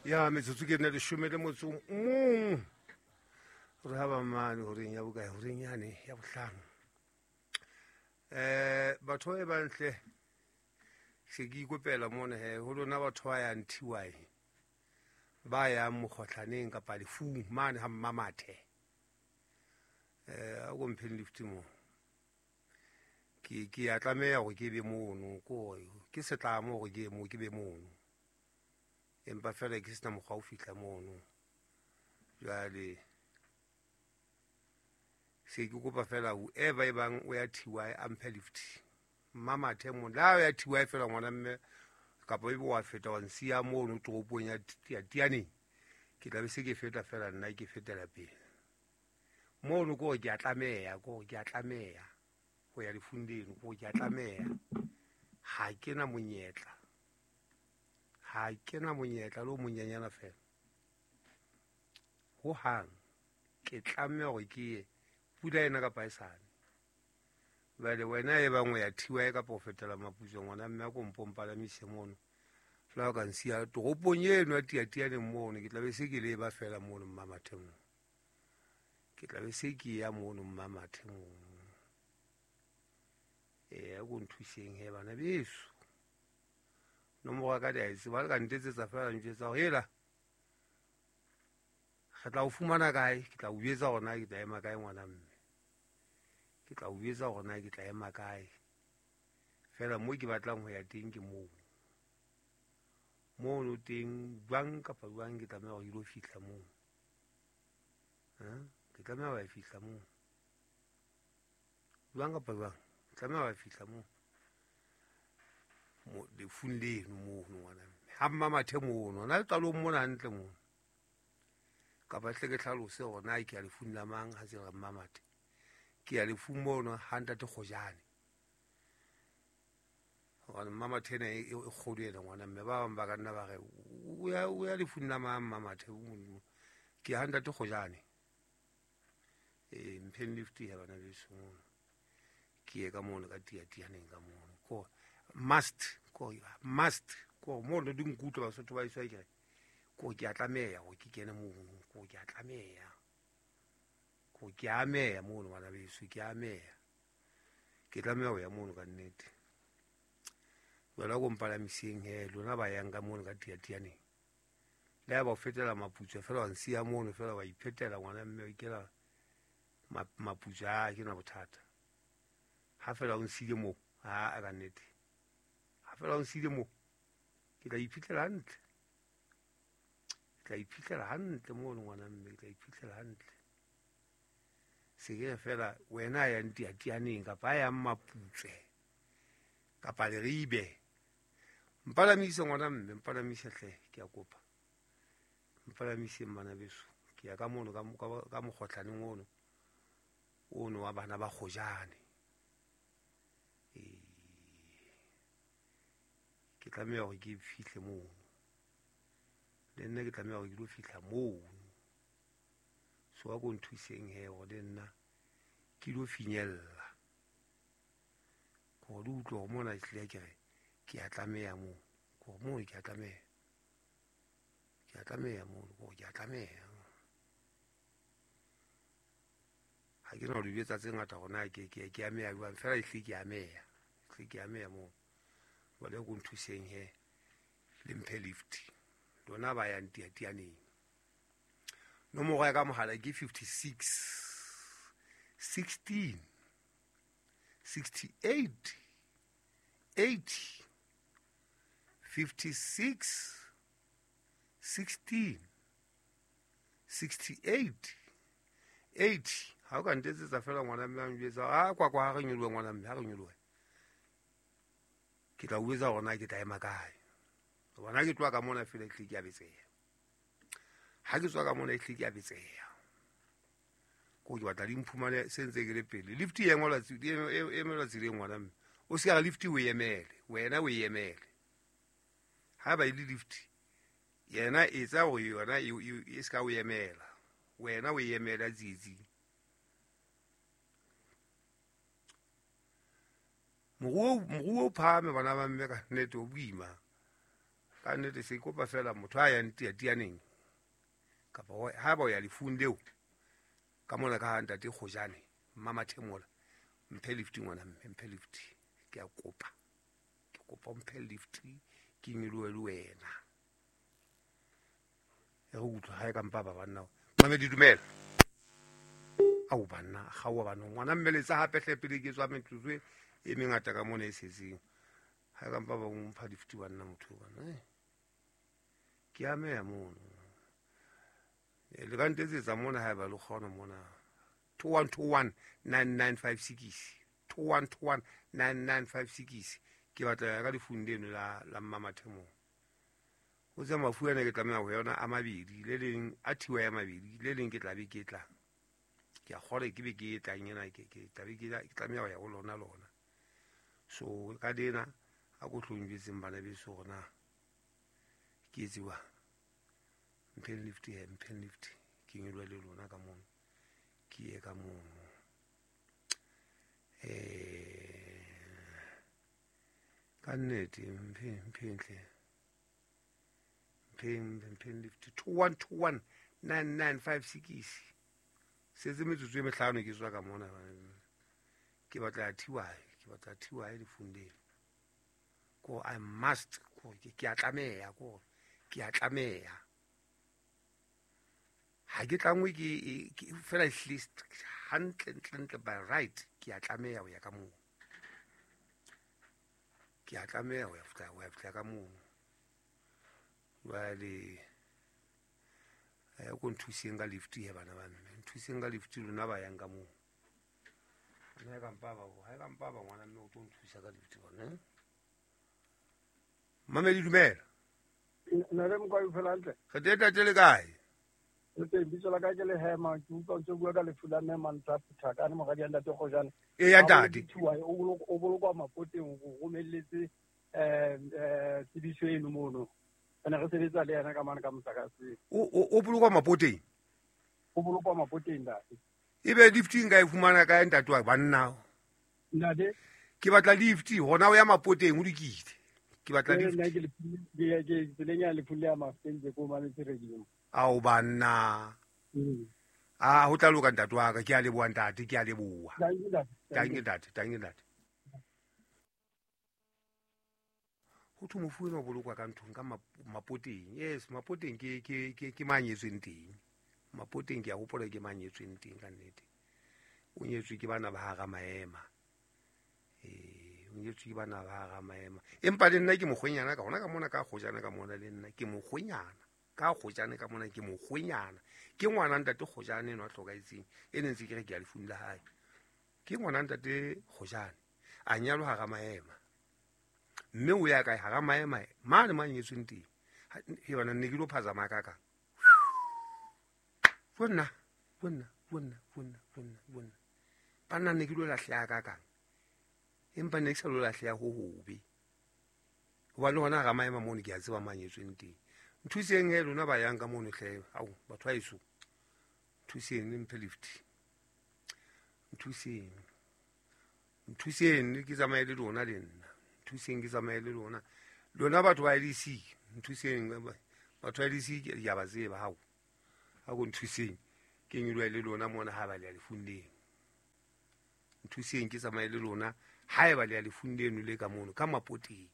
Ya metsotso ke nne leshome le motso mong re ha ba mane horeng ya bokae, horeng yane ya bohlano. Batho ba bantle se ke ikopela mona he ho lona batho ba yang TY ba yang mokgohlaneng kapa lefung mane ha Mmamathe. A ko mpheng lift mo. Ke ya tlameha hore ke be mono, ko ke setlamo hore ke mo ke be mono. Empa fela ke sena mokgwa o fihla mono. Jwale se ke kopa fela whoever e bang o ya TY a mphe lift. Mmamathe mo la o ya TY fela ngwana mme kapa ebe wa feta wa nsiya mono toropong ya Tianeng. Ke tla be se ke feta fela nna ke fetela pele. Mono ko ke a tlameha, ko ke a tlameha ho ya lefung leno, ko ke a tlameha. Ha ke na monyetla. Ha ke na monyetla le o monyenyana fela. Ho hang ke tlameha hore ke ye pula ena kapa e sane. Jwale wena e bang o ya TY kapa o fetela Maputswe ngwana mme a ko mpo mpalamise mono. Fela o ka nsiya toropong eno ya Tiatianeng mono, ke tla be se ke leba fela mono Mmamathe mono. Ke tla be se ke ya mono Mmamathe mono. A ko nthuseng he bana beso. Nomoro ya ka di a e tseba, le ka ntetsetsa fela njwetsa hore hela re tla o fumana kae, ke tla o jwetsa hore na ke tla ema kae ngwana mme. Ke tla o jwetsa hore na ke tla ema kae. Fela mo ke batlang ho ya teng ke moo. Mono teng jwang kapa jwang ke tlameha hore ke lo fihla moo. Ke tlameha ho ya fihla moo. Jwang kapa jwang, ke tlameha ho ya fihla moo. Mo lefung leno mono ngwana mme. Ha Mmamathe mono, na le qalong mona hantle mono. Kapa hle ke hlalose hore na ke ya lefung la mang ha se re Mmamathe. Ke ya lefung mono ha ntate Kgojane. Hobane Mmamathe ena e kgolo ena ngwana mme, ba bang ba ka nna ba re o ya lefung la mang Mmamathe. Ke ya ha ntate Kgojane. Mpheng lift ya bana beso mono. Ke ye ka mono ka Tiatianeng ka mono. Ko must, ko must, ko mono di nkutlwa Basotho ba iswa ke re. Ko ke a tlameha hore ke kene mono, ko ke a tlameha. Ko ke a ameha mono bana beso, ke a ameha. Ke tlameha ho ya mono ka nnete. Jwale ko mpalamiseng he lona ba yang ka mono ka Tiatianeng. Le ha ba o fetela Maputswe fela wa nsiya mono fela wa iphetela ngwana mme o ikela Maputswe, ha ke na bothata. Ha fela o nsile moo, ha ka nnete. Ha fela o nsile moo, ke tla iphitlhela hantle. Ke tla iphitlhela hantle mono ngwana mme, ke tla iphitlhela hantle. Se ke fela wena ya Tiatianeng kapa ya Maputswe kapa Leribe. Mpalamise ngwana mme, mpalamise hle, ke a kopa. Mpalamise bana beso. Ke ya ka mono ka mokgohlaneng ono. Ono wa bana ba Kgojane. Ke tlameha hore ke fihle mono. Le nna ke tlameha hore ke lo fihla mono. So a ko nthuseng he hore le nna ke lo finyella. Hore le utlwe hore mona ehlile ke re ke a tlameha moo. Hore moo ke a tlameha. Ke a tlameha moo, hore ke a tlameha. Ha ke na ho di jwetsa tse ngata hore na ke ameha jwang, fela ehlile ke ameha. Ehlile ke ameha moo. Jwale ko nthuseng he le mphe lift. Lona ba yang Tiatianeng. Nomoro ya ka mohala ke 56 16 68 80 56 16 68 80. Ha o ka ntetsetsa fela ngwana mme a njwetsa, a kwa kwa ha re nyolohe ngwana mme, ha re nyolohe. Ke tla o jwetsa hore na ke tla ema kae. Hobane ha ke tloha ka mona fela ehlile ke a betseha. Ha ke tswa ka mona ehlile ke a betseha. Ko ke batla di mphumane se ntse ke le pele. Lift e engwelwa e emelwa tseleng ngwana mme. O se ka re lift o e emele, wena o e emele. Ha ba ile lift, yena etsa hore yona e se ka o emela. Wena o e emela tsietsing. Moruo o phahame bana ba mme ka nnete o boima. Ka nnete se kopa fela motho a yang tiatianeng kapa ha ba o ya lefung leo ka mona ka ha ntate Kgojane Mmamathemola, mphe lift ngwana mme, mphe lift, ke a kopa, ke kopa mphe lift ke nyolohe le wena. E re utlwa ha e ka mpa ba banna. Mamedi dumela. Ao banna, kgaowa banna. Ngwana mme letsa hape hle pele ke tswa metsotso e mengata ka mona e setseng. Ha e ka mpa ba mpha lift banna motho bana. Ke ameha mono. Le ka ntetsetsa mona haeba le kgona mona. 2121 9956. 2121 9956. Ke batla ya ka lefung leno la Mmamathemola. O tse mafu ana ke tlameha ho yona a mabedi, le leng a thiwa ya mabedi, le leng ke tla be ke tla. Ke a kgolwa ke be ke tlang ena, ke tla be ke tlameha ho ya ho lona lona. So ka lena a ko hlong jwetseng bana beso hore na ke etse jwang. Mpheng lift he, mpheng lift, ke nyolohe le lona ka mono, ke ye ka mono. Ka nnete mpheng, mpheng hle. Mpheng lift 2121 9956. Setse metsotso e mehlano ke tswa ka mona. Ke batla ya thiwae, ke batla thiwae lefung leno. Ko I must, ko ke a tlameha, ko ke a tlameha. Ha ke tlangwe ke fela at least hantle ntle ntle by right ke a tlameha ho ya ka moo. Ke a tlameha ho ya fihla ka moo. Jwale ko nthuseng ka lift he bana ba mme, nthuseng ka lift lona ba yang ka moo. Ha ka mpa ba, ha ka mpa ba ngwana mme o tlo nthusa ka lift bona. Mamedi dumela. Nna le Mokwai o phela hantle? Re teng ntate le kae? Re teng, bitso la ka ke Lehema, ke utlwa ntse bua ka lefu la mme Mantsha Phuthakane, moradi ya ntate Kgojane. E ya ntate. O bolokwa mapoteng, o romelletse tsebiso eno mono. Re ne re sebetsa le yena ka mane ka motlakase. O bolokwa mapoteng? O bolokwa mapoteng, ntate. Ebe lift nka e fumana kae ntate wa banna? Ntate? Ke batla lift, hona o ya mapoteng o lokile. Ke batla lift. Nna ke ke tseleng ya lefu le ya Mafeng ke ko mametse radio. Ao banna. Ah, ho tla loka ntate wa ka, ke a leboha ntate, ke a leboha. Thank you ntate, thank you ntate. Ho thwe mofu enwa o bolokwa ka nthong ka mapoteng. Yes, mapoteng ke manyetsweng teng. Mapoteng ke a hopola ke manyetsweng teng ka nnete. O nyetswe ke bana ba hara maema. O nyetswe ke bana ba hara maema. Empa le nna ke mokgwenyana ka hona ka mona ka Kgojane ka mona le nna ke mokgwenyana. Ka Kgojane ka mona ke mokgwenyana. Ke ngwana ntate Kgojane enwa a hlokahetseng. E ne ntse ke re ke ya lefung la hae. Ke ngwana ntate Kgojane. A nyalwa hara maema. Mme o ya kae hara maema mane manyetsweng teng. He bana ne ke lo phazama ka ka. Bonna, bonna, bonna, bonna, bonna, bonna. Banna ne ke lo lahleha ka kang. Empa ne ke sa lo lahleha ho hobe. Hobane hona hara maema mono ke a tseba manyetsweng teng. Nthuseng he lona ba yang ka mono hle. Ao, batho ba heso. Nthuseng le mphe lift. Nthuseng. Nthuseng ke tsamaye le lona le nna. Nthuseng ke tsamaye le lona. Lona batho ba LEC, nthuseng batho ba LEC ke a ba tseba hao. Ha ko nthuseng ke nyolohe le lona mona ha ba le ya lefung leno. Nthuseng ke tsamaye le lona ha eba le ya lefung leno le ka mono ka mapoteng.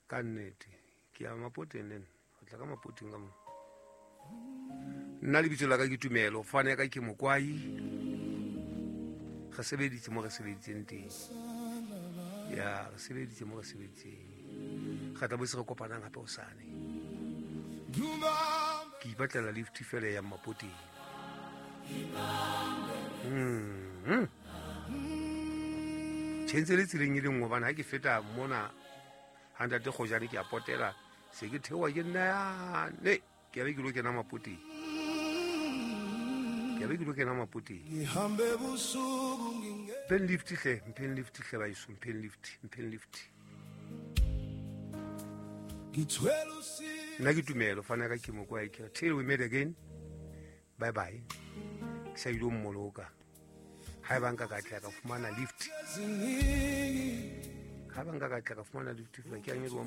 Ka nnete ke ya mapoteng le nna, ho tla ka mapoteng ka mono. Nna lebitso la ka ke Tumelo, fane ya ka ke Mokwai. Re sebeditse mo re sebeditseng teng. Ya, re sebeditse mo re sebeditseng. Re tla bo se re kopanang hape hosane. Ke ipatlela lift fela ya mapoteng. Tjhentse le tseleng e le nngwe hobane ha ke feta mona ha ntate Kgojane ke a potela, se ke theoha ke nna yane, ke a be ke lo kena mapoteng. Ke a be ke lo kena mapoteng. Mpheng lift hle, mpheng lift hle baeso, mpheng lift, mpheng lift. Nna ke Tumelo, fana ka ke Mokwai, ke re till we meet again. Bye bye. Ke sa ilo mmoloka. Ha eba nka ka tla ka fumana lift. Ha ba nka ka tla ka fumana lift fela ke a nyoloha mo.